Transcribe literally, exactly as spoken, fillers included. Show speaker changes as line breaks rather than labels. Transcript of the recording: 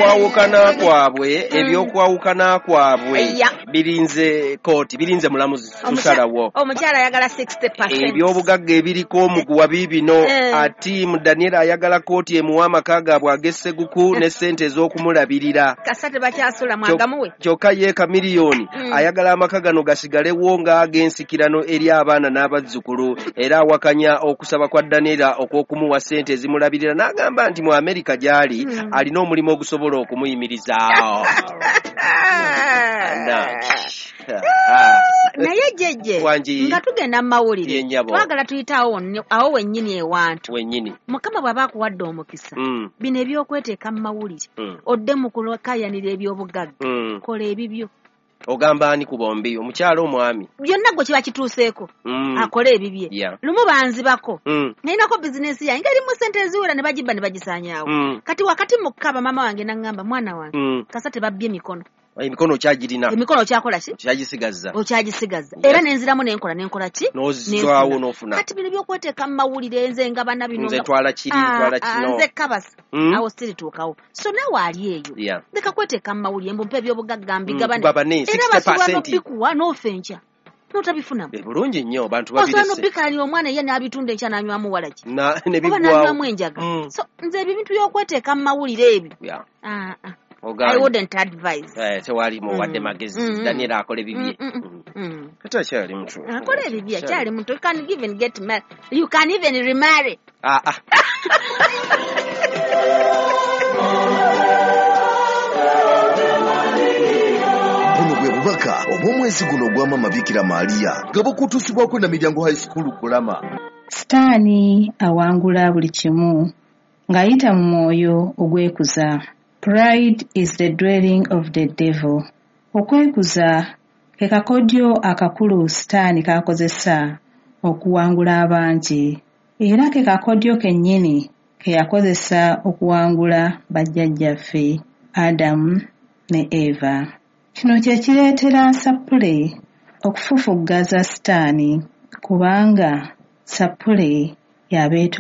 Kwawukana kwabwe, ebyokwawukana kwabwe
Yeah.
birinze kooti, birinze mulamuzi kusalawo.
Omukyala ayagala sixty percent.
Ebyobugagga ebiriko omuguwa biibino.
Eh.
Ati Daniel ayagala kooti emuwa amaka gaabwe ag'esseguku ne ssente ez'okumulabirira.
Kasa tebakyasula mwagamuwe.
Kyokka ye Kamiliyoni
Mm.
ayagala amaka gano gasigalewo ng'ag'ensikirano eri abaana n'abazzukulu, era awakanya okusaba kwa Daniela okw'okumuwa ssente ezimulabirira, n'agamba nti mu Amerika gy'ali
Mm.
alina omulimu ogusobola okumuyimirizaawo.
Naye jjejje,
Wangi.
nga tugenda mu mawulire,
Ye nnyabo.
twagala tuyite awo wonni- awo wennyini ewantu.
Wennyini.
Mukama bw'aba akuwadde omukisa,
Mm,
bino ebyokweteeka mu mawulire,
mm,
odde mu kulakayanira ebyobugagga,
mm.
kola ebibyo.
Ogamba ani ku bombi, omukyala, omwami?
Byonna gwe kiba kituuseeko,
Mm.
akole ebibye.
Yeah.
Lumu banzibako,
Mm,
nalinako bizinensi yange ng'erimu sente eziwera, ne bagibba ne bagisaanyaawo.
mm,
Kati wakati mu kkaba, maama wange naŋŋamba, "Mwana wange,
mm.
kasa tebabbye emikono."
Emikono okyagirina.
Emikono okyakola ki?
Okyagisigaza.
Okyagisigaza.
Yes.
Era nenziramu nenkola nenkola ki.
N'ozizaawo.
Nenfuna.
N'ofuna.
Kati bino byokweteeka mu mawulire, nze nga bana bino
Nze
nga-
twala kiri,
Ah,
twala
ah,
kino.
Nze kabasa,
Mm.
awo sirituukawo. So naawe ali eyo,
Yeah.
leka kweteeka mu mawulire mbu mpa ebyobugagga mbigabane.
Mm, tugabane,
Era basobola
sixty percent.
n'obikuwa n'ofa enkya n'otabifunamu.
Eh, bulungi nnyo, bantu
Osobola
babirese.
n'obikalanira omwana ye n'abitunda enkya n'anywamu walagi
Na- ne
oba
biggwawo.
n'anywamu enjaga.
Mm.
So nze ebyo ebintu by'okweteeka mu mawulire ebyo,
Yeah.
ah, ah. I
Ogaanye.
wouldn't advise.
Eh, tewali muwadde
Mm.
magezi.
Mm.
Daniel akola ebibye.
Mm, mm,
Mm.
mm.
Kati akyali muto.
Akola ebibye, akyali muto. You can even get married, you can even remarry.
Ah, ah.
Buno bwe bubaka obw'omwezi guno ogwa Mama Bikira Maaliya nga bukutuusibwako na Miryango High School Kulama.
Sitaani awangula buli kimu ng'ayita mu mwoyo ogwekuza. Pride is the dwelling of the devil. Okwekuza ke kakodyo akakulu Sitaani k'akozesa okuwangula abangi, era ke kakodyo kennyini ke yakozesa okuwangula bajjajjaffe Adamu ne Eva. Kino kye kireetera Sappule okufufuggaza Sitaani, kubanga Sappule y'abeetoowaza.